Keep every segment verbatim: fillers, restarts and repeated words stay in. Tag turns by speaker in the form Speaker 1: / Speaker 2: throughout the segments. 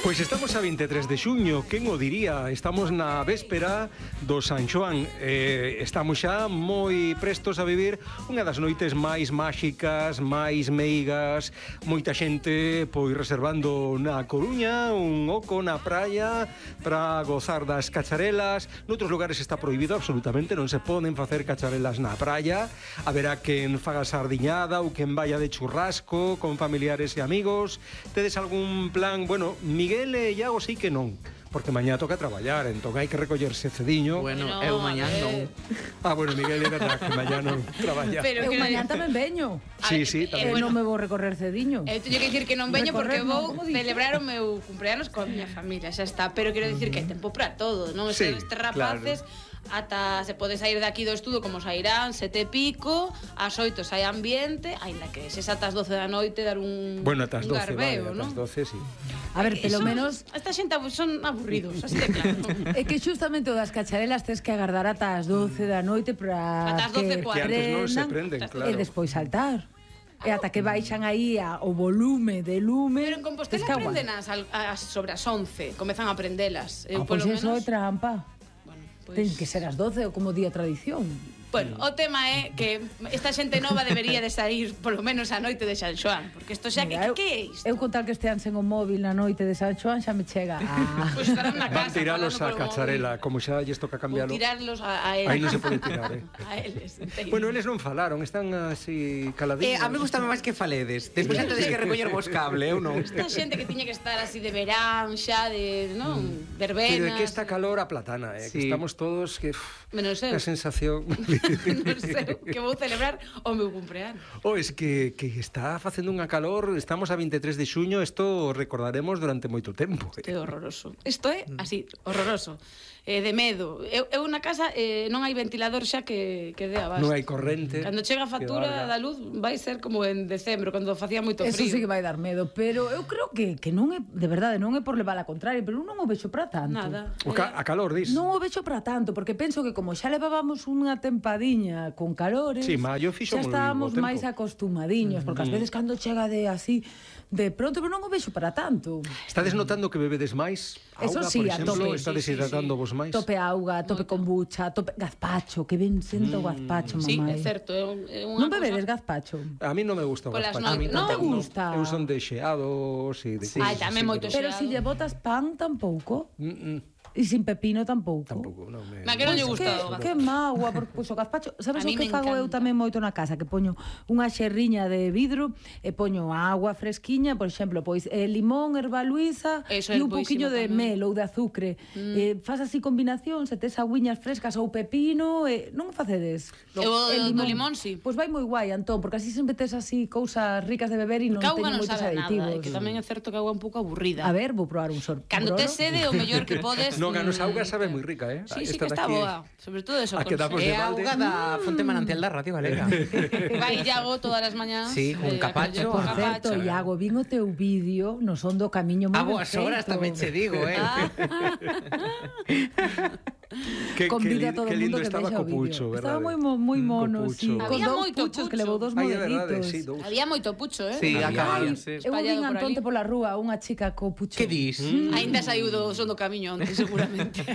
Speaker 1: Pois estamos a vinte e tres de xuño, quen o diría? Estamos na véspera do San Xoán. eh, Estamos xa moi prestos a vivir unha das noites máis máxicas, máis meigas. Moita xente pois reservando na Coruña un oco na praia para gozar das cacharelas. Noutros lugares está prohibido absolutamente, non se poden facer cacharelas na praia. Haberá quen faga sardiñada ou quen vaya de churrasco con familiares e amigos. Tedes algún plan? Bueno, Miguel e Iago sí que non, porque mañá toca traballar, entón hai que recollerse cediño.
Speaker 2: Bueno, eu mañá non.
Speaker 1: Ah, bueno, Miguel, é verdad que mañá non traballa.
Speaker 3: Pero
Speaker 4: Eu
Speaker 3: que
Speaker 4: mañá tamén veño.
Speaker 1: Sí, sí,
Speaker 4: Eh,
Speaker 1: tamén.
Speaker 4: non me vou recorrer cediño.
Speaker 3: Eu teño que dicir que non veño porque
Speaker 4: Recorrer, non,
Speaker 3: vou
Speaker 4: como dices?
Speaker 3: celebrar o meu cumpleanos con a miña familia, xa está. Pero quero dicir que hai tempo para todo, non?
Speaker 1: Sí,
Speaker 3: Estes rapaces ata se pode sair de aquí do estudo como sairán, sete e pico, ás oito sai ambiente, aínda que se ata as doce da noite dar un
Speaker 1: Bueno, ata as
Speaker 3: un
Speaker 1: doce,
Speaker 3: garbeo,
Speaker 1: vale, ata
Speaker 3: non?
Speaker 1: as doce, sí.
Speaker 4: A ver, pelo
Speaker 3: Son-
Speaker 4: menos
Speaker 3: esta xente abu- son aburridos, así de claro.
Speaker 4: é que xustamente o das cacharelas tes que agardar ata as doce da noite para
Speaker 3: Ata as doce e
Speaker 4: que
Speaker 3: cuarto.
Speaker 1: Que antes non se
Speaker 4: prendan
Speaker 1: prenden,
Speaker 4: e
Speaker 1: claro.
Speaker 4: despois saltar. E ata que baixan aí a, o volume de lume.
Speaker 3: Pero en Compostela
Speaker 4: tes que aguantar.
Speaker 3: aprenden as, al- as sobre as once, comezan a aprendelas. Eu
Speaker 4: Ah, pois
Speaker 3: polo
Speaker 4: eso é
Speaker 3: menos,
Speaker 4: trampa.
Speaker 3: bueno,
Speaker 4: Ten
Speaker 3: pois
Speaker 4: que ser as doce ou como día tradición.
Speaker 3: Bueno, o tema é que esta xente nova debería de sair polo menos a noite de San Xoán, porque isto xa que,
Speaker 4: Mira,
Speaker 3: que, que é isto?
Speaker 4: Eu con tal que estean sen o móvil na noite de San Xoán xa me chega. Ah.
Speaker 3: Pois estarán na
Speaker 1: Van
Speaker 3: casa
Speaker 1: tiralos
Speaker 3: falando
Speaker 1: a
Speaker 3: polo
Speaker 1: cacharela, como xa lles toca
Speaker 3: móvil. Ou
Speaker 1: cambialo.
Speaker 3: tirarlos a, a eles.
Speaker 1: Aí non se pode tirar, eh.
Speaker 3: A eles, entendo.
Speaker 1: Bueno, eles non falaron, están así caladinhos.
Speaker 2: Eh, a mí gustame máis que faledes. Despois xa tedes que recoller vos cable, eu non.
Speaker 3: Esta xente que tiña que estar así de verán, xa de, non, verbenas.
Speaker 1: Pero é que esta calor a platana, eh, que
Speaker 2: Sí.
Speaker 1: estamos todos que... uf,
Speaker 3: Menos eu.
Speaker 1: a sensación...
Speaker 3: Non sei, que vou celebrar o meu cumpleanos.
Speaker 1: Oh, es que, que está facendo unha calor, estamos a vinte e tres de xuño, isto recordaremos durante moito tempo.
Speaker 3: Isto é horroroso. Isto é así, horroroso. Eh, de medo. Eu, eu na casa eh, non hai ventilador xa que, que dé abasto.
Speaker 1: Non hai corrente.
Speaker 3: Cando chega a
Speaker 1: que
Speaker 3: factura
Speaker 1: valga.
Speaker 3: da luz vai ser como en decembro, cando facía moito
Speaker 4: Eso
Speaker 3: frío.
Speaker 4: sí que vai dar medo, pero eu creo que, que non é, de verdade, non é por levar a contraria, pero eu non o vexo para tanto.
Speaker 3: Nada.
Speaker 1: O ca a calor, dis?
Speaker 4: Non o vexo para tanto, porque penso que como xa levábamos unha tempadiña con calores,
Speaker 1: Sí, maio fixo
Speaker 4: xa
Speaker 1: moi
Speaker 4: estábamos
Speaker 1: bo tempo.
Speaker 4: máis acostumadiños, porque ás veces cando chega de así, de pronto, pero non o vexo para tanto.
Speaker 1: Estades notando que bebedes máis?
Speaker 4: Eso
Speaker 1: Auga,
Speaker 4: sí,
Speaker 1: por
Speaker 4: a
Speaker 1: exemplo,
Speaker 4: tope.
Speaker 1: está
Speaker 3: Sí, sí,
Speaker 1: deshidratando vos máis?
Speaker 4: Tope auga, tope kombucha, tope gazpacho, que ben sento o gazpacho,
Speaker 3: Sí,
Speaker 4: mamai.
Speaker 3: é certo, é, un- é unha
Speaker 4: Non bebedes
Speaker 3: cousa...
Speaker 4: gazpacho?
Speaker 1: A mí non me gusta o
Speaker 3: Polas
Speaker 1: gazpacho.
Speaker 3: noites.
Speaker 1: A mí
Speaker 3: Non te
Speaker 1: tampouco.
Speaker 4: gusta?
Speaker 1: Eu son de xeados e de
Speaker 2: Sí.
Speaker 3: Ai,
Speaker 1: cousas
Speaker 3: tamén
Speaker 1: así,
Speaker 3: moito
Speaker 1: pero-
Speaker 4: Pero si lle botas pan tampouco,
Speaker 1: Mm, mm,
Speaker 4: e sin pepino tampouco.
Speaker 1: tampouco, non me...
Speaker 3: Ma que non lle
Speaker 4: Pois
Speaker 3: gusta
Speaker 4: que,
Speaker 3: o gazpacho.
Speaker 4: que mágoa, porque pois, o gazpacho, sabes
Speaker 3: A
Speaker 4: o
Speaker 3: mí
Speaker 4: que
Speaker 3: me
Speaker 4: fago eu
Speaker 3: encanta.
Speaker 4: tamén moito na casa, que poño unha xerriña de vidro e poño agua fresquiña, por exemplo, pois eh, limón, erva luisa
Speaker 3: Eso
Speaker 4: e
Speaker 3: é
Speaker 4: un poquinho
Speaker 3: boísimo
Speaker 4: de
Speaker 3: tamén.
Speaker 4: mel ou de azucre. Mm. Eh, faz así combinación, se tes agüiñas frescas ou pepino, eh, non facedes?
Speaker 3: Eu o do limón, sí.
Speaker 4: Pois vai moi guai, Antón, porque así sempre tes así cousas ricas de beber e non
Speaker 3: Porque a auga
Speaker 4: teñen
Speaker 3: non
Speaker 4: moitos
Speaker 3: sabe a
Speaker 4: aditivos.
Speaker 3: nada, e que tamén é certo que a auga é un pouco aburrida.
Speaker 4: A ver, vou probar un sorbo.
Speaker 3: Cando tes sede, o mellor que podes...
Speaker 1: Non, a nosa
Speaker 3: mm,
Speaker 1: auga sabe moi rica, eh?
Speaker 3: Sí, sí
Speaker 1: Esta
Speaker 3: que está
Speaker 1: daqui-
Speaker 3: boa. Sobre todo eso.
Speaker 1: A que damos
Speaker 2: É
Speaker 1: de
Speaker 2: a
Speaker 1: balde.
Speaker 2: auga da fonte manantial da Radio Galega.
Speaker 3: Vai Iago todas as mañás.
Speaker 2: Sí, con
Speaker 3: eh,
Speaker 2: capacho.
Speaker 3: con
Speaker 4: Por certo,
Speaker 3: capacho.
Speaker 4: Iago, vin o teu vídeo no son do camiño moi
Speaker 2: A
Speaker 4: ben
Speaker 2: boas horas
Speaker 4: feito.
Speaker 2: tamén che digo, eh.
Speaker 3: Ah,
Speaker 1: Que,
Speaker 4: Convido
Speaker 1: que,
Speaker 4: a todo
Speaker 1: que
Speaker 4: o mundo
Speaker 1: lindo
Speaker 4: que
Speaker 1: estaba
Speaker 4: vexa o
Speaker 1: co pucho,
Speaker 4: vídeo.
Speaker 1: verdade?
Speaker 4: Estaba moi mo- moi
Speaker 1: Mm, co
Speaker 4: mono,
Speaker 1: pucho.
Speaker 4: sí, con
Speaker 3: Había
Speaker 4: dous
Speaker 3: moito
Speaker 4: puchos que
Speaker 3: pucho.
Speaker 4: levou dos
Speaker 1: Ai, é verdade,
Speaker 4: modelitos.
Speaker 1: sí, dous.
Speaker 3: había moito pucho, eh?
Speaker 2: Sí,
Speaker 3: Había-
Speaker 2: acababan,
Speaker 4: Ai,
Speaker 2: sí.
Speaker 4: eu
Speaker 3: Espallado
Speaker 4: vin
Speaker 3: por
Speaker 4: Antonte
Speaker 3: ali.
Speaker 4: pola rúa unha chica co pucho.
Speaker 2: Que dis?
Speaker 3: Ainda saiu do son do camiño onte, seguramente.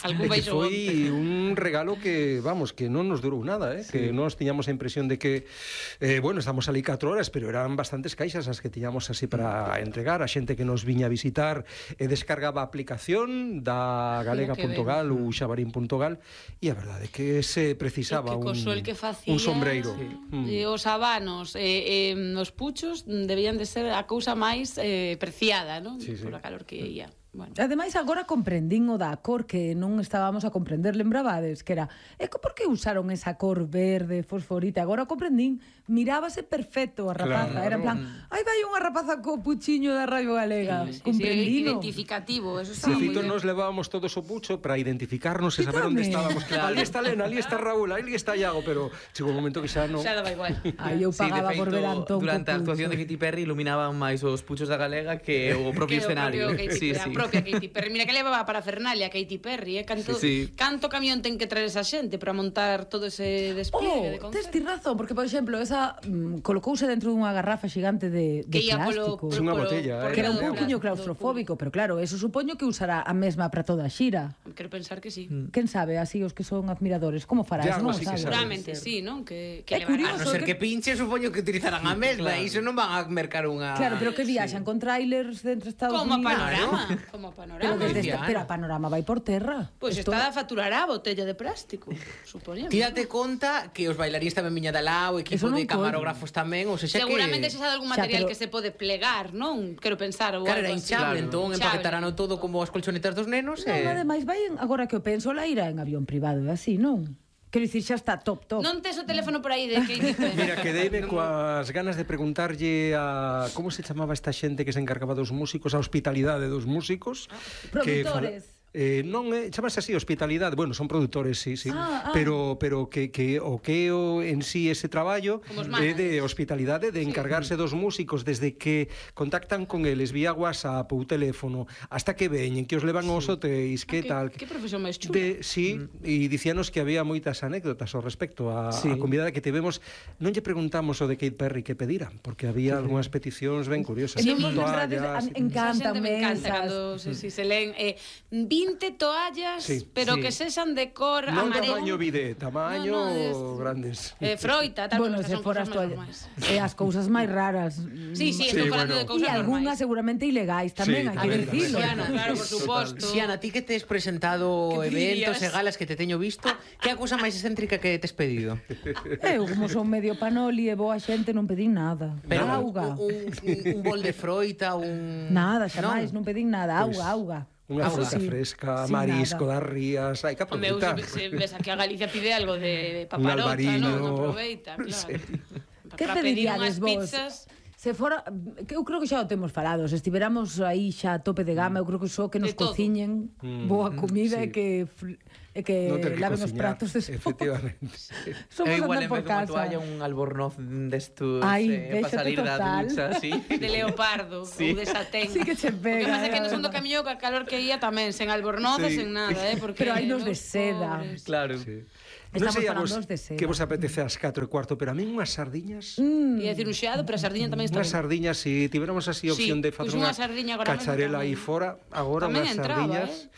Speaker 3: Algún
Speaker 1: É que
Speaker 3: baixo
Speaker 1: foi un regalo que, vamos, que non nos durou nada, eh? Sí. Que nós tiñamos a impresión de que, eh, bueno, estamos ali catro horas, pero eran bastantes caixas as que tiñamos así para entregar a xente que nos viña a visitar e descargaba a aplicación da galega punto gal ou xabarín punto gal e a verdade é que se precisaba
Speaker 3: E que co
Speaker 1: un,
Speaker 3: sol que facía,
Speaker 1: un sombreiro.
Speaker 3: Sí.
Speaker 1: Mm.
Speaker 3: E os habanos e, e os puchos debían de ser a cousa máis eh, preciada, non?
Speaker 1: Sí, sí.
Speaker 3: Por a calor que ia. Bueno.
Speaker 4: Ademais, agora comprendín o da cor que non estábamos a comprender, lembrabades? Que era, e co- por que usaron esa cor verde, fosforita? Agora o comprendín, mirábase perfecto a rapaza.
Speaker 1: Claro.
Speaker 4: Era en plan, ai, vai unha rapaza co puchiño da Radio Galega.
Speaker 3: Sí, sí,
Speaker 4: Comprendino.
Speaker 3: identificativo, eso está
Speaker 1: Sí,
Speaker 3: moi
Speaker 1: Fito,
Speaker 3: ben.
Speaker 1: nos levábamos todos o pucho para identificarnos e saber onde
Speaker 4: Quítame.
Speaker 1: estábamos. Ali está Lena, ali está Raúl, ali está Iago, pero chegou un momento que xa non...
Speaker 3: Xa daba igual.
Speaker 4: Ai, eu
Speaker 2: Sí, de
Speaker 4: pagaba por
Speaker 2: feito,
Speaker 4: ver a Antón
Speaker 2: durante a
Speaker 4: co
Speaker 2: actuación de
Speaker 4: pucho.
Speaker 2: Katy Perry iluminaban máis os puchos da Galega que o propio
Speaker 3: Que o
Speaker 2: escenario.
Speaker 3: propio Katy
Speaker 2: Sí,
Speaker 3: Perry, a
Speaker 2: sí.
Speaker 3: propia propia Katy Perry. Mira que levaba para Fernalia Katy Perry, eh? Canto,
Speaker 2: Sí, sí.
Speaker 3: canto camión ten que traer esa xente para montar todo ese despliegue de
Speaker 4: Oh, tes
Speaker 3: concerto.
Speaker 4: ti razón, porque, por exemplo, esa mm, colocouse dentro dunha garrafa xigante de, de
Speaker 3: Que ia polo,
Speaker 4: plástico.
Speaker 1: É unha botella,
Speaker 3: por
Speaker 1: eh.
Speaker 4: Que era un
Speaker 3: do
Speaker 4: pouquiño
Speaker 3: plástico,
Speaker 4: claustrofóbico, pero claro, eso supoño que usará a mesma para toda a xira.
Speaker 3: Quero pensar que sí.
Speaker 4: Quen sabe, así os que son admiradores, como fará
Speaker 1: Ya,
Speaker 4: eso, non
Speaker 1: algo así que
Speaker 4: sabe.
Speaker 1: sabe.
Speaker 3: Seguramente sí, non? Que,
Speaker 4: É
Speaker 3: que levará.
Speaker 2: A
Speaker 4: curioso.
Speaker 2: non ser que pinche, supoño que utilizarán a mesma, e iso non van a mercar unha...
Speaker 4: Claro, pero que viaxan con trailers dentro de Estados
Speaker 3: Como a
Speaker 4: Unidos.
Speaker 3: panorama, como a
Speaker 4: Pero,
Speaker 3: panorama.
Speaker 4: desde
Speaker 2: Cristiano.
Speaker 4: esta, pero a panorama vai por terra.
Speaker 3: Pois
Speaker 4: Esto-
Speaker 3: está a faturar a botella de plástico, supoñemos.
Speaker 2: Ti date conta que os bailarís tamén viña da lá, o equipo
Speaker 4: Eso non
Speaker 2: de camarógrafos tamén, ou sexa que...
Speaker 3: Seguramente se xa de algún
Speaker 4: Xa,
Speaker 3: material
Speaker 4: pero-
Speaker 3: que se pode plegar, non? Quero pensar ou
Speaker 2: Claro, era
Speaker 3: algo así.
Speaker 2: hinchable,
Speaker 5: Claro.
Speaker 2: entón
Speaker 3: Hinchable.
Speaker 2: empaquetarano todo como as colchonetas dos nenos
Speaker 4: Non,
Speaker 2: e...
Speaker 4: ademais, vai en, agora que o penso, la irá en avión privado, é así, non? Quero dicir, xa está top, top.
Speaker 3: Non tes o teléfono por aí de Katy Perry.
Speaker 1: Mira, quedeime coas ganas de preguntarlle a... Como se chamaba esta xente que se encargaba dos músicos, a hospitalidade dos músicos? Que fala-
Speaker 4: Produtores.
Speaker 1: Eh, non é, chamase así hospitalidade, bueno, son produtores, sí, sí.
Speaker 4: Ah, ah.
Speaker 1: Pero pero que que o que é o en sí ese traballo
Speaker 3: Como os
Speaker 1: é de
Speaker 3: managers.
Speaker 1: hospitalidade, de encargarse dos músicos desde que contactan con eles vía WhatsApp ou teléfono, hasta que veñen, que os levan aos hotéis, que
Speaker 3: que,
Speaker 1: tal.
Speaker 3: que profesión máis chula.
Speaker 1: De, sí, e dicíanos que había moitas anécdotas ao respecto a,
Speaker 2: Sí.
Speaker 1: a convidada que tivemos. Non lle preguntamos o de Katy Perry que pedira, porque había algunhas peticións ben curiosas.
Speaker 4: E non vos
Speaker 1: Toallas,
Speaker 4: lembrades, a-
Speaker 1: e-
Speaker 3: Esa
Speaker 4: encantan
Speaker 3: xente me encanta
Speaker 4: mesas.
Speaker 3: cando se, si se leen eh, vinte toallas,
Speaker 1: Sí,
Speaker 3: pero
Speaker 2: sí.
Speaker 3: que sexan de cor
Speaker 1: non
Speaker 3: amarelo.
Speaker 1: tamaño bidé, tamaño
Speaker 3: No, no, es-
Speaker 1: grandes.
Speaker 3: Eh, froita, tal,
Speaker 4: Bueno,
Speaker 3: estas
Speaker 4: se
Speaker 3: son
Speaker 4: foras
Speaker 3: cosas
Speaker 4: toallas.
Speaker 3: máis normais.
Speaker 4: E as cousas máis raras.
Speaker 3: Sí,
Speaker 1: Sí,
Speaker 3: sí, estou falando
Speaker 1: bueno.
Speaker 3: de
Speaker 4: E
Speaker 3: cousas
Speaker 4: algunhas
Speaker 3: normais.
Speaker 4: seguramente ilegais tamén,
Speaker 1: Sí,
Speaker 4: hai que
Speaker 1: tamén,
Speaker 4: dicilo.
Speaker 3: Xiana, claro, por suposto.
Speaker 2: Xiana, ti que tes presentado
Speaker 3: Que
Speaker 2: eventos e
Speaker 3: pillas.
Speaker 2: galas que te teño visto, que é a cousa máis excéntrica que tes pedido?
Speaker 4: Eu, como son medio panoli e boa xente, non pedín nada.
Speaker 2: Pero
Speaker 4: Auga.
Speaker 2: un, un, un bol de froita, un...
Speaker 4: Nada, xa máis, non pedín nada.
Speaker 1: Pois,
Speaker 4: Auga, auga.
Speaker 1: Unha
Speaker 4: Eso
Speaker 1: fruta
Speaker 4: sí.
Speaker 1: fresca,
Speaker 4: Sin
Speaker 1: marisco
Speaker 4: nada.
Speaker 1: das rías, hai que
Speaker 3: O meu,
Speaker 1: aproveitar.
Speaker 3: se, se ves aquí a Galicia pide algo de
Speaker 1: Un
Speaker 3: paparota,
Speaker 1: albariño.
Speaker 3: non? Aproveita, claro.
Speaker 1: Sí.
Speaker 4: Que
Speaker 3: Para pedir
Speaker 4: pediríades
Speaker 3: unhas
Speaker 4: vos?
Speaker 3: pizzas.
Speaker 4: Se fora, que eu creo que xa o temos falado, se estiveramos aí xa a tope de gama, eu creo que só que nos
Speaker 3: De todo.
Speaker 4: cociñen
Speaker 1: Mm,
Speaker 4: boa comida
Speaker 1: sí.
Speaker 4: e que fr- e que
Speaker 1: Non ter que
Speaker 4: laven os
Speaker 1: cociñar,
Speaker 4: pratos despois.
Speaker 1: efectivamente.
Speaker 4: Somos
Speaker 5: Eu igual
Speaker 4: andar
Speaker 5: en
Speaker 4: por
Speaker 5: vez dunha
Speaker 4: casa.
Speaker 5: toalla un albornoz destos
Speaker 4: Ai,
Speaker 5: eh, para
Speaker 4: véxate
Speaker 5: salir da
Speaker 4: total.
Speaker 5: ducha, sí.
Speaker 3: De leopardo
Speaker 5: Sí.
Speaker 3: ou de satén.
Speaker 4: Sí que che pega,
Speaker 3: O que pasa é que
Speaker 4: eh,
Speaker 3: no son do
Speaker 4: verdad.
Speaker 3: camiño ca calor que ia tamén, sen albornoces,
Speaker 1: Sí.
Speaker 3: sen nada, eh, porque
Speaker 4: Pero hai nos de
Speaker 3: os
Speaker 4: seda.
Speaker 3: pobres.
Speaker 5: Claro.
Speaker 1: Sí.
Speaker 4: Estamos
Speaker 1: non sei a
Speaker 4: falando
Speaker 1: vos
Speaker 4: de seda.
Speaker 1: que vos apetece ás catro e cuarto, pero a min unhas sardiñas...
Speaker 4: Mm.
Speaker 3: Ia dicir un xeado, pero a sardiña tamén está
Speaker 1: Unhas
Speaker 3: ben.
Speaker 1: sardiñas, se si tiveramos así opción
Speaker 3: Sí,
Speaker 1: de facer
Speaker 3: pois
Speaker 1: unha
Speaker 3: unha sardiña agora mesmo
Speaker 1: cacharela aí
Speaker 3: tamén.
Speaker 1: fora, agora
Speaker 3: Tamén
Speaker 1: unhas
Speaker 3: entraba,
Speaker 1: sardiñas...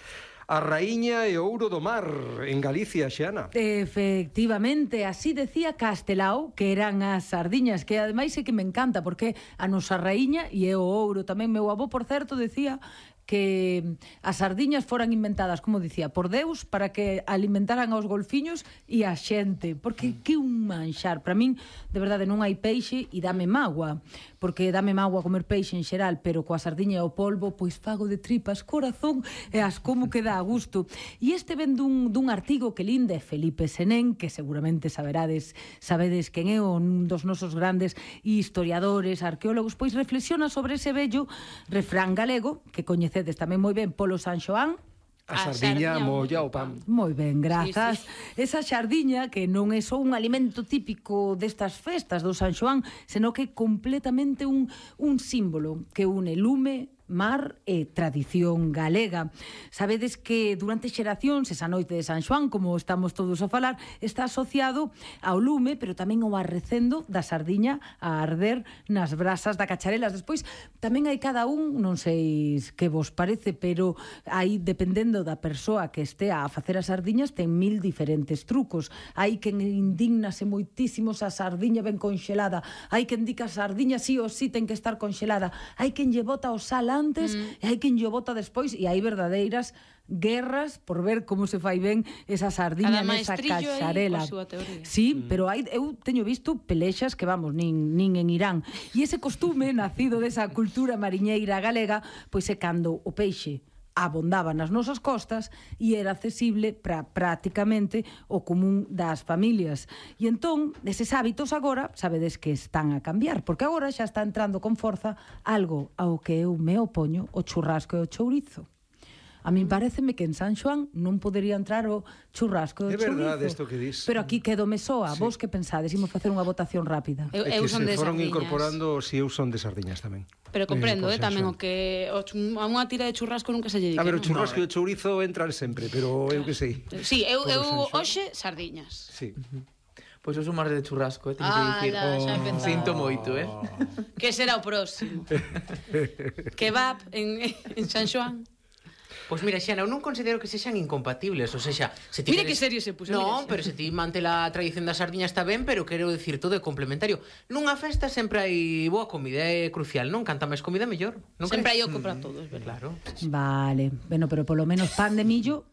Speaker 1: A raíña e o ouro do mar en Galicia, Xana.
Speaker 4: Efectivamente, así decía Castelao, que eran as sardiñas, que ademais é que me encanta, porque a nosa raíña e é o ouro tamén. Meu avó, por certo, decía que as sardiñas foran inventadas, como dicía, por Deus, para que alimentaran aos golfiños e a xente, porque que un manxar. Para min, de verdade, non hai peixe e dame mágoa, porque dame mágoa comer peixe en xeral, pero coa sardiña e o polvo, pois fago de tripas corazón e as como que dá a gusto. E este ven dun, dun artigo que linde Felipe Senén, que seguramente saberades, sabedes quen é un dos nosos grandes historiadores, arqueólogos, pois reflexiona sobre ese bello refrán galego, que coñecedes tamén moi ben polo San Xoán.
Speaker 1: A
Speaker 3: A
Speaker 1: sardiña
Speaker 3: sardiña
Speaker 1: molla o
Speaker 3: molla o
Speaker 1: pan.
Speaker 4: Moi ben, grazas.
Speaker 3: Sí,
Speaker 4: Sí, sí. Esa xardiña que non é só un alimento típico destas festas do San Xoán, senón que é completamente un, un símbolo que une lume, mar e tradición galega. Sabedes que durante xeracións, esa noite de San Xoán, como estamos todos a falar, está asociado ao lume, pero tamén ao arrecendo da sardiña a arder nas brasas da cacharelas. Despois, tamén hai cada un, non sei que vos parece, pero aí, dependendo da persoa que estea a facer as sardiñas, ten mil diferentes trucos. Hai quen indignase moitísimo se a sardiña ben conxelada, hai quen di que a sardiña sí ou sí ten que estar conxelada, hai quen lle bota o sal antes mm. e hai quen lle bota despois, e hai verdadeiras guerras por ver como se fai ben esa sardiña
Speaker 3: Cada
Speaker 4: nesa
Speaker 3: maestrillo aí
Speaker 4: cacharela.
Speaker 3: coa súa teoría.
Speaker 4: Sí, mm. pero hai, eu teño visto pelexas que, vamos, nin, nin en Irán. E ese costume, nacido desa cultura mariñeira galega, pois é cando o peixe abondaba nas nosas costas e era accesible para prácticamente o común das familias. E entón, eses hábitos agora, sabedes que están a cambiar, porque agora xa está entrando con forza algo ao que eu me opoño, o churrasco e o chourizo. A min pareceme que en San Xoán non podería entrar o churrasco do
Speaker 1: É verdade
Speaker 4: chourizo.
Speaker 1: isto que dis.
Speaker 4: Pero aquí quedo me soa. Vos que pensades? Imos facer unha votación rápida.
Speaker 3: Eu,
Speaker 1: É
Speaker 3: eu
Speaker 1: que
Speaker 3: son
Speaker 1: se
Speaker 3: de
Speaker 1: foron
Speaker 3: sardiñas.
Speaker 1: incorporando, si eu son de sardiñas tamén.
Speaker 3: Pero comprendo,
Speaker 1: Eh,
Speaker 3: eh,
Speaker 1: por
Speaker 3: tamén
Speaker 1: San
Speaker 3: o que o chum- a unha tira de churrasco nunca se lle dique.
Speaker 1: A ver, o
Speaker 3: non?
Speaker 1: churrasco e o chourizo entran sempre, pero eu que sei.
Speaker 3: Sí, eu,
Speaker 1: Por
Speaker 3: eu
Speaker 1: San Xoán.
Speaker 3: hoxe sardiñas.
Speaker 1: Sí.
Speaker 5: Pois eu son máis de churrasco, eh, teño que dicir.
Speaker 3: Ala, xa empezamos.
Speaker 5: Sinto moito, eh.
Speaker 3: Que será o próximo? Kebab en, en San Xoán.
Speaker 2: Pois mira, Xana, eu non considero que sexan incompatibles, ou sexa, se ti
Speaker 3: Mira
Speaker 2: queres-
Speaker 3: que serio se puso,
Speaker 2: Non,
Speaker 3: mira, xa.
Speaker 2: pero se ti mantela a tradición da sardiña está ben, pero quero dicir todo é complementario. Nunha festa sempre hai boa comida, é crucial, non? Canta máis comida mellor, non
Speaker 3: Sempre hai
Speaker 2: crees?
Speaker 3: oco para todos, verdad?
Speaker 2: Claro.
Speaker 4: Vale. Bueno, pero polo menos pan de millo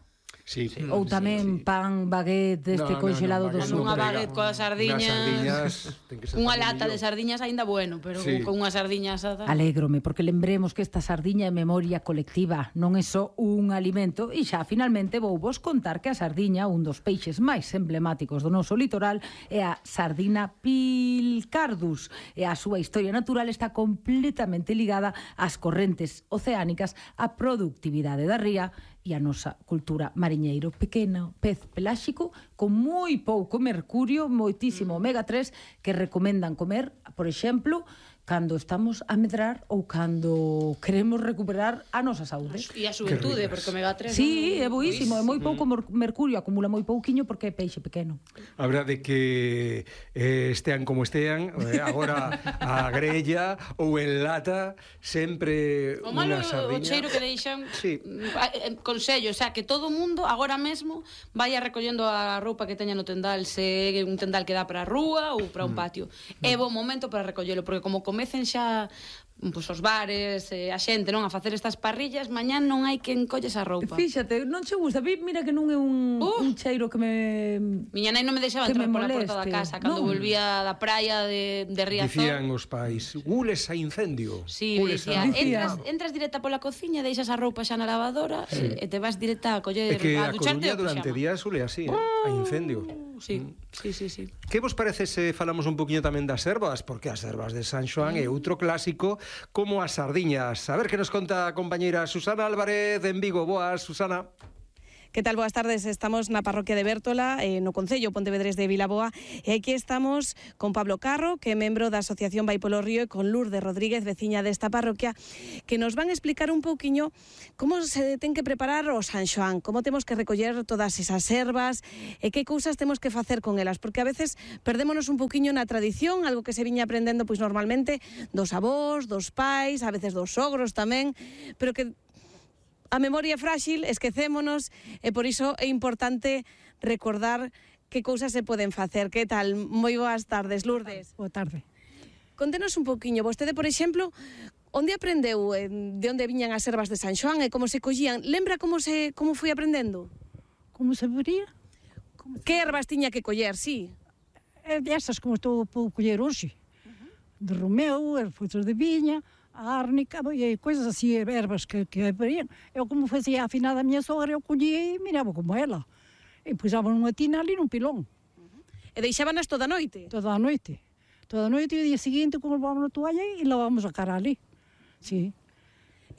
Speaker 1: Sí.
Speaker 4: ou tamén pan baguette deste
Speaker 1: No, no,
Speaker 4: congelado
Speaker 1: no,
Speaker 4: do
Speaker 1: baguette
Speaker 4: sur.
Speaker 3: Con unha
Speaker 1: prega.
Speaker 3: baguette coas sardiñas.
Speaker 1: Unhas sardiñas, ten que ser
Speaker 3: Unha
Speaker 1: pan de
Speaker 3: lata
Speaker 1: millo.
Speaker 3: de sardiñas aínda bueno, pero
Speaker 1: Sí.
Speaker 3: con unha sardiña asada.
Speaker 4: Alégrome, porque lembremos que esta sardiña é memoria colectiva, non é só un alimento, e xa finalmente vou vos contar que a sardiña, un dos peixes máis emblemáticos do noso litoral, é a sardina pilcardus, e a súa historia natural está completamente ligada ás correntes oceánicas, á productividade da ría e a nosa cultura mariñeiro. Pequeno pez peláxico con moi pouco mercurio, moitísimo omega tres, que recomendan comer, por exemplo, cando estamos a medrar ou cando queremos recuperar a nosa saúde.
Speaker 3: E a xuventude, porque omega tres...
Speaker 4: Sí, é
Speaker 3: non-
Speaker 4: boísimo, é moi pouco mor- mercurio, acumula moi pouquiño porque é peixe pequeno.
Speaker 1: A verdade é que eh, estean como estean, eh, agora a grella ou en lata, sempre
Speaker 3: O malo
Speaker 1: unha
Speaker 3: é o
Speaker 1: sardiña.
Speaker 3: cheiro que deixan.
Speaker 1: Sí.
Speaker 3: eh, Consello, o sea, que todo o mundo agora mesmo vaya recollendo a roupa que teña no tendal, se é un tendal que dá para a rúa ou para un patio. É bo momento para recollelo, porque como comecen xa pois, os bares, eh, a xente, non, a facer estas parrillas, mañán non hai quen colle esa roupa.
Speaker 4: Fíxate, non che gusta, vi- mira que non é un,
Speaker 3: Uh.
Speaker 4: un cheiro que me...
Speaker 3: Miña nai non me deixaba
Speaker 4: Que
Speaker 3: entrar
Speaker 4: me
Speaker 3: pola porta da
Speaker 4: moleste.
Speaker 3: casa cando
Speaker 4: Non.
Speaker 3: volvía da praia de, de Riazor.
Speaker 1: Dicían os pais, gules a incendio.
Speaker 3: Sí,
Speaker 1: gules
Speaker 3: dicía,
Speaker 1: a...
Speaker 4: Dicía.
Speaker 3: entras, entras directa pola cociña, deixas a roupa xa na lavadora
Speaker 1: Sí.
Speaker 3: e, e te vas directa a coller,
Speaker 1: É que
Speaker 3: a
Speaker 1: a
Speaker 3: ducharte
Speaker 1: Coruña
Speaker 3: o
Speaker 1: durante
Speaker 3: pixama.
Speaker 1: días sule así, eh? a incendio.
Speaker 3: Sí, sí, sí, sí.
Speaker 1: Que vos parece se falamos un poquinho tamén das ervas? Porque as ervas de San Xoán é outro clásico como as sardiñas. A ver que nos conta a compañeira Susana Álvarez en Vigo. Boas, Susana.
Speaker 6: Que tal? Boas tardes. Estamos na parroquia de Bértola, eh, no Concello Pontevedrés de Vilaboa, e aquí estamos con Pablo Carro, que é membro da Asociación Vai polo Río, e con Lourdes Rodríguez, veciña desta parroquia, que nos van a explicar un pouquiño como se ten que preparar o San Xoán, como temos que recoller todas esas ervas e que cousas temos que facer con elas, porque a veces perdémonos un pouquiño na tradición, algo que se viña aprendendo pois normalmente dos avós, dos pais, a veces dos sogros tamén, pero que a memoria é frágil, esquecémonos, e por iso é importante recordar que cousas se poden facer. Que tal? Moi boas tardes, Lourdes.
Speaker 7: Boa tarde.
Speaker 6: Contenos un poquinho. Vostede, por exemplo, onde aprendeu, eh, de onde viñan as ervas de San Xoán e como se collían? Lembra como se como foi aprendendo?
Speaker 7: Como se vería?
Speaker 6: Que ervas tiña que coller, sí?
Speaker 7: É destas como estou a colher hoxe. De romeu, frutos de viña, a árnica, e coisas assim, ervas que, que haveriam. Eu como fazia a afinada a minha sogra, eu colhia e mirava como ela. E pusava numa tina ali num pilão,
Speaker 6: E deixábanas toda a noite?
Speaker 7: toda a noite. Toda a noite e o dia seguinte colocávamos na toalha e lavávamos a cara ali. Sí.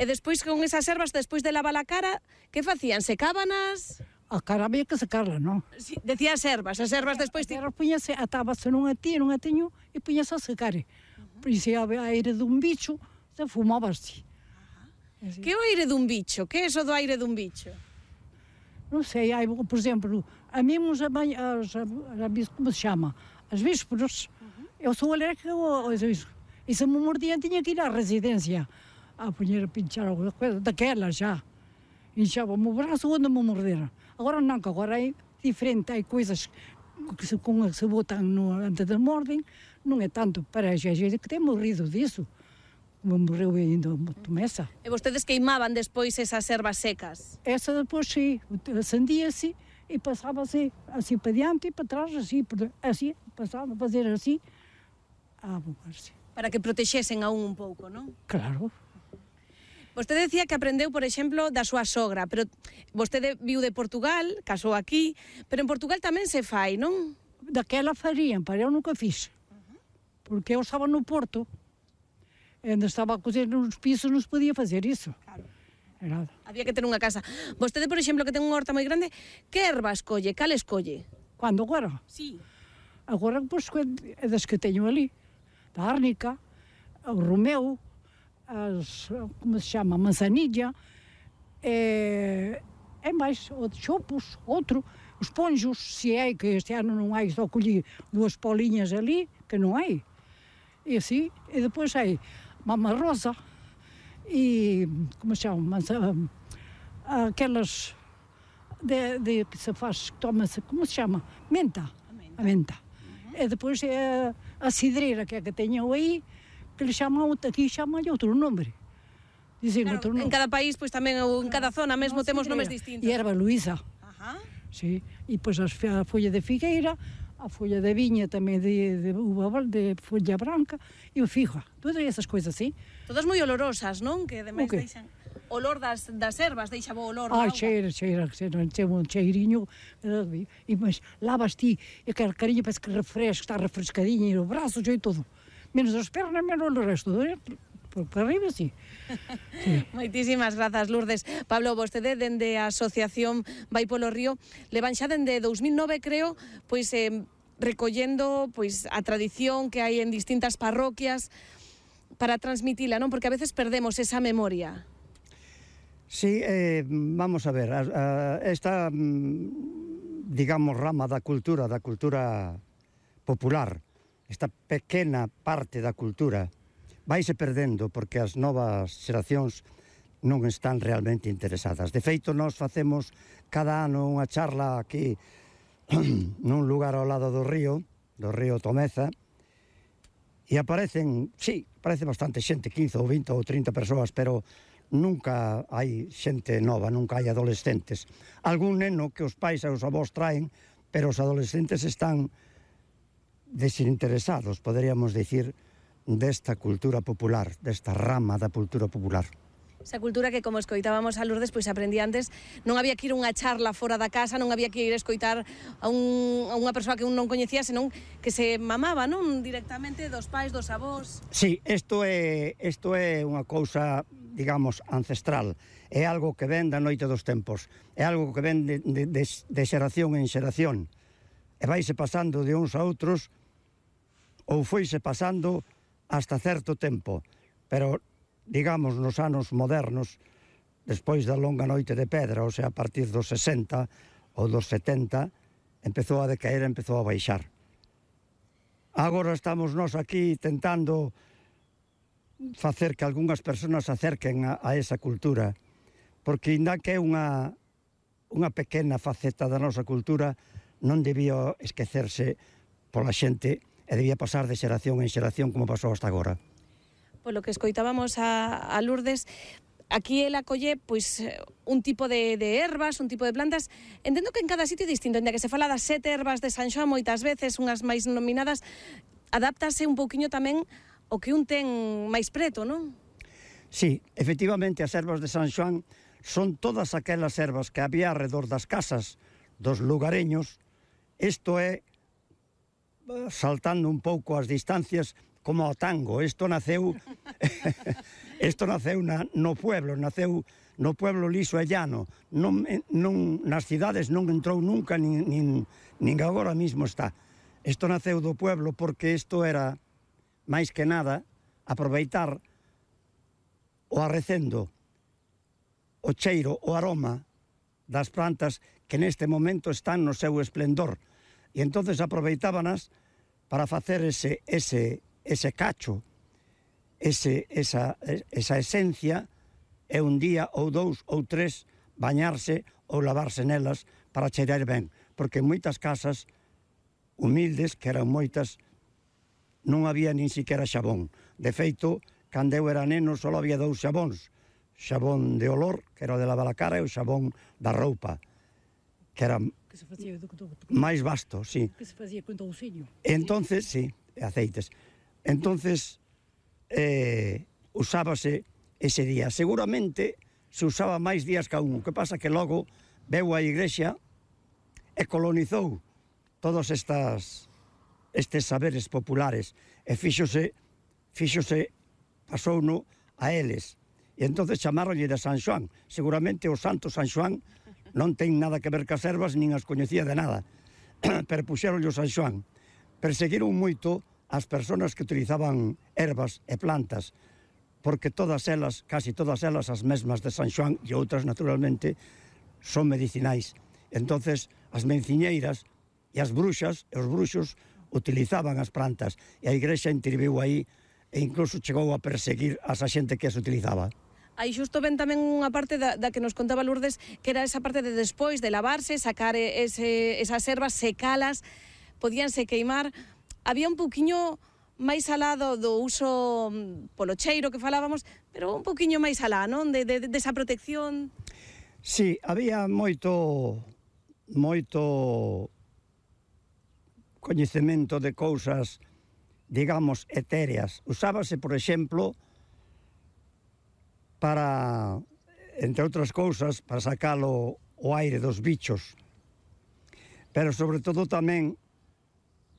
Speaker 6: E despois con esas ervas, despois de lavar a cara, que facían? Secábanas?
Speaker 7: A cara había que sacarla, non?
Speaker 6: Sí, decía as ervas, as ervas despois...
Speaker 7: As ervas punhase, atábase nunha tina, nunha tiño e punhase a secar. Por isso, a aire dun bicho, se fumaba-se.
Speaker 6: Que é o aire dun bicho? Que é eso do aire dun bicho?
Speaker 7: Não sei, aí, por exemplo, a mim, os, as, as, como se chama? As vísperas, eu sou alérgica aos vísperas. E se me mordiam, tinha que ir à residência a punhar a pinchar alguma coisa, daquela já. Inchava-me o braço onde me morderam. Agora não, que agora é diferente, há coisas que se, com, se botam no, antes de mordem, não é tanto para a gente que tem morrido disso. Como morreu ainda a Tomessa.
Speaker 6: E vostedes queimaban despois esas ervas secas?
Speaker 7: Essa depois sim, acendia-se e passava-se assim para diante e para trás, assim, assim passava a fazer assim, a abocar-se.
Speaker 6: Para que protexesen aún un pouco, non?
Speaker 7: Claro.
Speaker 6: Vostede decía que aprendeu, por exemplo, da súa sogra, pero vostede viu de Portugal, casou aquí, pero en Portugal tamén se fai, non?
Speaker 7: Daquela fariam, para eu nunca fiz. Porque eu estava no Porto, onde estava a cozer nos pisos, não se podia fazer isso.
Speaker 6: Claro.
Speaker 7: e nada.
Speaker 6: Había que ter unha casa. Vostede, por exemplo, que ten unha horta moi grande, que erva escolle? Cal escolle?
Speaker 7: Cando agora?
Speaker 6: Sí.
Speaker 7: Agora, pois, é das que teño ali. Da árnica, o romeu, as, como se chama, manzanilla, e, e máis, o de chopos, outro, os ponjos, se é que este ano non hai, só colhi dúas poliñas ali, que non hai. E assim, e depois hai mama rosa, e, como se chama, manza, aquelas de, de que se faz, toma-se, como se chama? Menta. A menta. A menta. Uhum. E depois é a cidreira, que é que teño aí, que lhe chamam, aqui chamam-lhe outro nome. Dizem
Speaker 6: Claro,
Speaker 7: outro nome.
Speaker 6: en cada país, pois tamén, ou en cada zona mesmo,
Speaker 7: No,
Speaker 6: temos
Speaker 7: cidreira.
Speaker 6: nomes distintos.
Speaker 7: E erva Luísa.
Speaker 6: Ajá.
Speaker 7: Sí. E pois as, a folla de figueira, a folla de viña tamén de, de uva, de folla branca, e o fija. Todas essas coisas así.
Speaker 6: Todas moi olorosas, non? Que ademais
Speaker 7: O que?
Speaker 6: deixan olor das, das ervas, deixa bo olor.
Speaker 7: Ai,
Speaker 6: da auga.
Speaker 7: cheira, cheira, cheira, cheira un cheirinho. eh, E mas lavas ti, e aquela carinha parece que refresca, está refrescadinha, e o braço, e tudo. Menos as pernas, menos o resto. Eh? Por, por arriba, sí. Sí.
Speaker 6: Moitísimas grazas, Lourdes. Pablo, vostede dende a Asociación Vai polo Río levan xa dende dous mil nove, creo, pois eh, recollendo pois a tradición que hai en distintas parroquias para transmitila, non? Porque a veces perdemos esa memoria.
Speaker 8: Sí, eh, vamos a ver, a, a, esta, mm, digamos, rama da cultura, da cultura popular, esta pequena parte da cultura, vaise perdendo porque as novas xeracións non están realmente interesadas. De feito, nós facemos cada ano unha charla aquí nun lugar ao lado do río, do río Tomeza, e aparecen, sí, aparece bastante xente, quince ou vinte ou trinta persoas, pero nunca hai xente nova, nunca hai adolescentes. Algún neno que os pais e os avós traen, pero os adolescentes están desinteresados, poderíamos dicir, desta cultura popular, desta rama da cultura popular.
Speaker 6: Esa cultura que, como escoitábamos a Lourdes, pois aprendí antes, non había que ir unha charla fora da casa, non había que ir a escoitar a, un, a unha persoa que un non coñecía, senón que se mamaba, non? Directamente dos pais, dos avós.
Speaker 8: Sí, isto é, isto é unha cousa, digamos, ancestral. É algo que ven da noite dos tempos. É algo que ven de, de, de, de xeración en xeración. E vaise pasando de uns a outros, ou foise pasando hasta certo tempo. Pero, digamos, nos anos modernos, despois da longa noite de pedra, ou sea, a partir dos sesenta ou dos setenta, empezou a decaer, empezou a baixar. Agora estamos nós aquí tentando facer que algunhas persoas se acerquen a, a esa cultura, porque ainda que é unha, unha pequena faceta da nosa cultura, non debía esquecerse pola xente e debía pasar de xeración en xeración como pasou hasta agora.
Speaker 6: Polo que escoitábamos a, a Lourdes, aquí ela colle pois un tipo de, de ervas, un tipo de plantas. Entendo que en cada sitio é distinto, en que se fala das sete ervas de San Xoán moitas veces, unhas máis nominadas, adáptase un pouquiño tamén o que un ten máis preto, non?
Speaker 8: Sí, efectivamente as ervas de San Xoán son todas aquelas ervas que había alrededor das casas dos lugareños. Isto é, saltando un pouco as distancias, como o tango. Isto naceu isto naceu na, no pueblo, naceu no pueblo liso e llano. Non, non, nas cidades non entrou nunca, nin, nin, nin agora mismo está. Isto naceu do pueblo porque isto era, máis que nada, aproveitar o arrecendo, o cheiro, o aroma das plantas que neste momento están no seu esplendor. E entonces aproveitábanas para facer ese, ese, ese cacho, ese, esa, esa esencia, e un día ou dous ou tres bañarse ou lavarse nelas para cheirar ben. Porque en moitas casas humildes, que eran moitas, non había nin siquiera xabón. De feito, cando eu era neno, só había dous xabóns. Xabón de olor, que era o de lavar a cara, e o xabón da roupa, que era
Speaker 7: Que se facía do, do, do,
Speaker 8: máis vasto, sí.
Speaker 7: que se facía con touciño.
Speaker 8: Entonces, sí, aceites. Entonces, eh, usábase ese día. Seguramente se usaba máis días que un. O que pasa que logo veu a Igrexa e colonizou todos estas estes saberes populares e fíxose, fíxose, pasouno a eles. E entonces chamaronlle de San Xoán. Seguramente o santo San Xoán non ten nada que ver cas ervas, nin as coñecía de nada. Pero puxeronlle o San Xoán. Perseguiron moito as persoas que utilizaban ervas e plantas, porque todas elas, casi todas elas, as mesmas de San Xoán e outras, naturalmente, son medicinais. Entonces, as menciñeiras e as bruxas e os bruxos utilizaban as plantas e a Igrexa interviu aí e incluso chegou a perseguir a esa xente que as utilizaba.
Speaker 6: Aí xusto ven tamén unha parte da, da que nos contaba Lourdes, que era esa parte de despois de lavarse, sacar ese, esas ervas, secalas, podíanse queimar. Había un pouquiño máis alado do uso polo cheiro que falábamos, pero un pouquiño máis alá, non? De, de, de esa protección.
Speaker 8: Sí, había moito, moito coñecemento de cousas, digamos, etéreas. Usábase, por exemplo, para, entre outras cousas, para sacalo o aire dos bichos, pero sobre todo tamén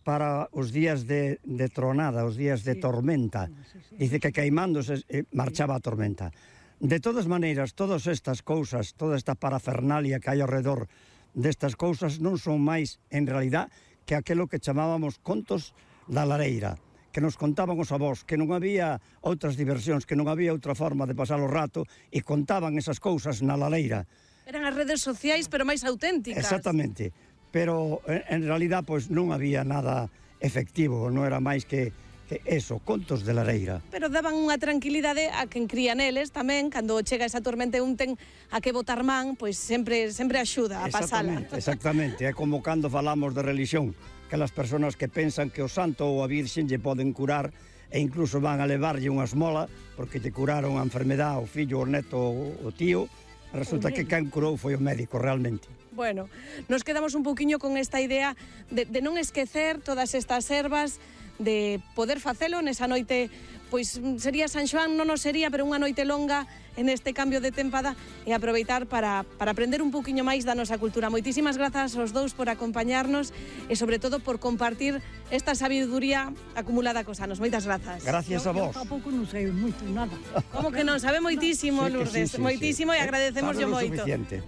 Speaker 8: para os días de, de tronada, os días de tormenta. Dice que queimándose marchaba a tormenta. De todas maneiras, todas estas cousas, toda esta parafernalia que hai ao redor destas cousas non son máis, en realidad, que aquelo que chamábamos contos da lareira, que nos contaban os avós, que non había outras diversións, que non había outra forma de pasar o rato, e contaban esas cousas na lareira.
Speaker 6: Eran as redes sociais, pero máis auténticas.
Speaker 8: Exactamente, pero en realidad pois non había nada efectivo, non era máis que, que eso, contos de lareira.
Speaker 6: Pero daban unha tranquilidade a quen cría neles tamén, cando chega esa tormenta e un ten a que botar man, pois sempre, sempre axuda a pasala.
Speaker 8: Exactamente, exactamente, é como cando falamos de religión, aquelas persoas que pensan que o santo ou a virxen lle poden curar e incluso van a levarlle unha esmola porque lle curaron a enfermedade o fillo, o neto, o tío. Resulta que quen curou foi o médico realmente.
Speaker 6: Bueno, nos quedamos un pouquiño con esta idea de, de non esquecer todas estas ervas, de poder facelo nesa noite, pois sería San Xoán, non o sería, pero unha noite longa en este cambio de tempada e aproveitar para, para aprender un pouquiño máis da nosa cultura. Moitísimas grazas aos dous por acompañarnos e sobre todo por compartir esta sabiduría acumulada cos anos. Moitas grazas.
Speaker 8: Gracias a vos.
Speaker 7: Eu tampouco non sei moito, nada.
Speaker 6: Como que non? Sabe moitísimo,
Speaker 8: Sí,
Speaker 6: Lourdes,
Speaker 8: sí, sí,
Speaker 6: moitísimo
Speaker 8: sí.
Speaker 6: e agradecemos yo moito.
Speaker 8: Suficiente.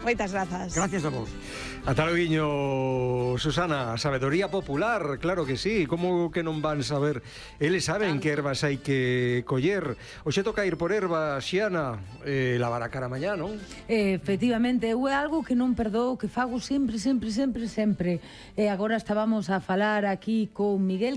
Speaker 6: Moitas grazas.
Speaker 8: Gracias a vos.
Speaker 1: Ata loguiño, Susana, sabedoría popular, claro que sí, como que non van saber? Eles saben que ervas hai que coller. Oxe toca ir por erva, Xiana, eh, lavar a cara mañá, non?
Speaker 4: Efectivamente, eu é algo que non perdoo, que fago sempre, sempre, sempre, sempre. E agora estábamos a falar aquí con Miguel,